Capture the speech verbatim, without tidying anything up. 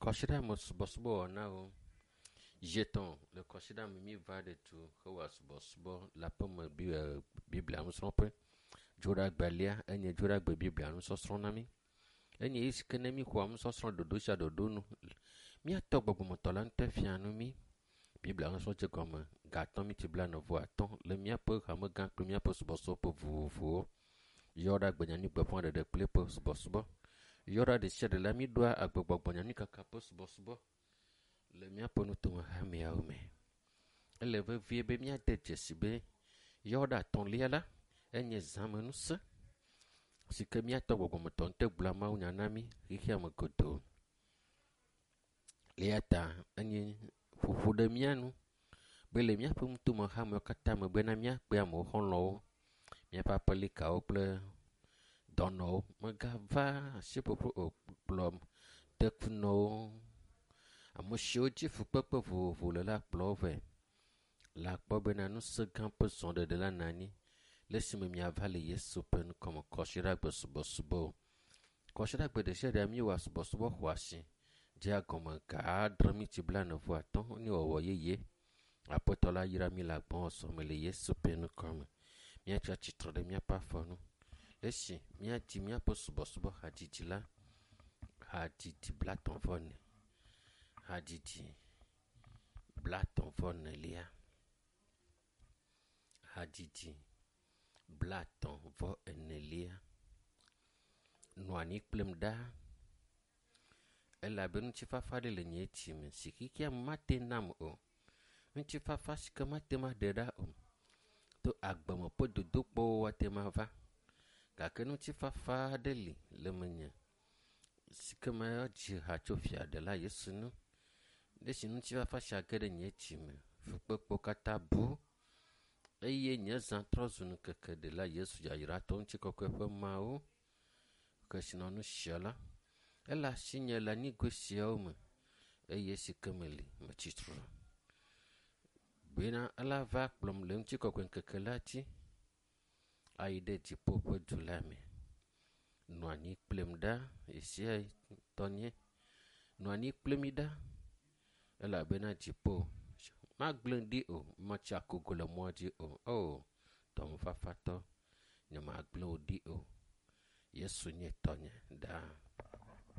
Kɔsiɖame subɔsubɔ wɔnawo. Zi etɔ̃ le kɔsiɖame míeva ɖe du hewɔa subɔsubɔ le aƒeme biblia nusrɔ̃ƒe. Dzoɖagbelia enye dzoɖagbe biblia nusɔsrɔ̃ na mí. Enye yi si ke ne míxɔa nusɔsrɔ̃ ɖoɖo sia ɖoɖo nu. Míatɔ gbɔgbɔmetɔ la ŋutɔ fia nu mí. Biblia nusɔsrɔ̃ dze gɔme ga atɔ̃ miti blaene vɔ atɔ̃ le míaƒe hamegã kple míaƒe subɔsubɔƒe vovovowo. Yɔɖagbe nyanyuigbeƒãɖeɖe kple eƒe subɔsubɔ. Yɔɖa ɖe sia ɖe la míɖoa agbegbɔgbɔ nyanyuikaka ƒe subɔsubɔ le míaƒe nutome hameawo me. Ele vevie be míade dzesi be yɔɖa atɔ̃lia la enye zãmenusẽ si ke míatɔ gbɔgbɔmetɔ ŋutɔ gblɔa mawunya na mí xexea me godoo. Eya ta enye ƒoƒo ɖe mía nu be le míaƒe nutome hamewo katã me bena míakpe amewo xɔlɔ̃wo, míaƒe aƒelikawo kple dɔnɔwo. Megava asiƒoƒo o kplɔ tekunɔwo, ame siwo dzi fukpekpe vovovo le la kplɔ wo vɛ. Le akpɔ bena ŋusẽ gã ƒe zɔɖeɖe la nɔ anyi le esime miava le Yesu ƒe ŋkɔme kɔsiɖagbe subɔsubɔ. Kɔsiɖagbe ɖe sia ɖe míewɔa subɔsubɔ xɔasi dzea gɔme ga adre miti blaene vɔ atɔ̃ nye wɔwɔ yeye. Aƒetɔ la yra mí le agbɔsɔsɔ me le Yesu ƒe ŋkɔme. Míatsi atsitre ɖe míaƒe afɔ nu. Le esi míadzi míaƒe subɔsubɔ hadzidzi la, hadzidzi blatɔ̃ vɔ ene, hadzidzi blatɔ̃ vɔ enelia, hadzidzi blatɔ̃ vɔ enelia. Nɔ anyi kplim ɖaa elabe ŋutifafa ɖe le nye dzime si xexea me mate nam o. Ŋutifafa si ke mate ŋu aɖe ɖa o. To agbeme ƒe dodokpɔwo ate ŋu ava gake ŋutifafa aɖe li le menye si ke medzi ha tso fia ɖela Yesu ŋu. Le esi ŋutifafa sia ge ɖe nye dzime, fukpekpewo katã bu eye nye zã trɔ zu ŋkeke ɖela Yesu yayratɔ ŋutikɔkɔe ƒe Mawu kesinɔnu sia la. Ele asinye le anyigoe siawo me eye si ke meli metsi tre. Bena ela va kplɔm le ŋutikɔkɔe ŋkeke la dzi ayi ɖe dziƒo ƒe du la me. Nɔ anyi kplim ɖa ɣesia ɣi tɔnye. Nɔ anyi kpli mí ɖa elabena dziƒo magblẽ ɖi o, metsi akogo le mɔa dzi o. O, dɔmefafatɔ, nyemagblẽ wò ɖi o. Yesu nye tɔnye ɖaa.